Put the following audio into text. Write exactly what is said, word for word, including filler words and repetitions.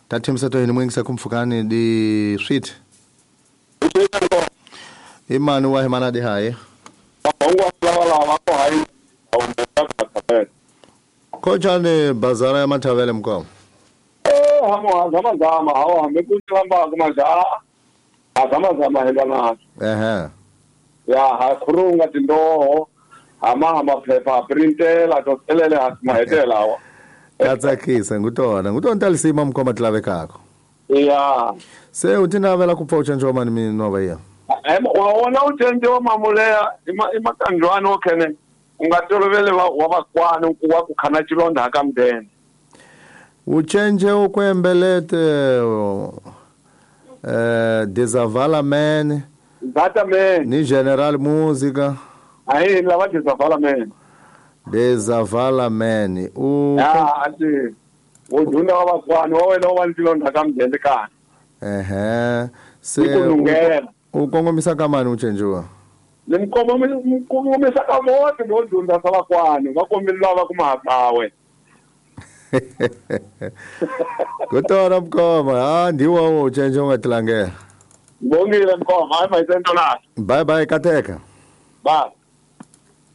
Tathemisa to yini mwingisa kumfukani di sweet imani wa himana di haye kochane bazara ya mathavele mkomo eh hamo zama zama hawa hamekuchamba kumaja azama zama helana ehe ya ha khurunga tindoho ama amaphepha printela to telele hasimahetela wa katsakisa ngutona ngutona talisima mkhoma tlavekako ya se utinavela kupfa uchenjwa mani minova iya wona uchenjwa mamuleya imakanjwani okhene ungatolovele wa vakwani wa ku khana chilonda ka mdende uchenje ukwembelete eh desavala man zata man ni general musica ayi lava desavala man desavala man u ya ati uduna wa vakwani wa wena wa chilonda ka mdende ka ehe se u kongomisa ka mani uchenjiwa nimkongomisa ka vote ndo dunda sa vakwani va kombela va kuma hawe Kutora mkoma ha ndiwo uchenje ungatilangela Ngongile mkoma hayi mayisento la Bye bye kateka Bye.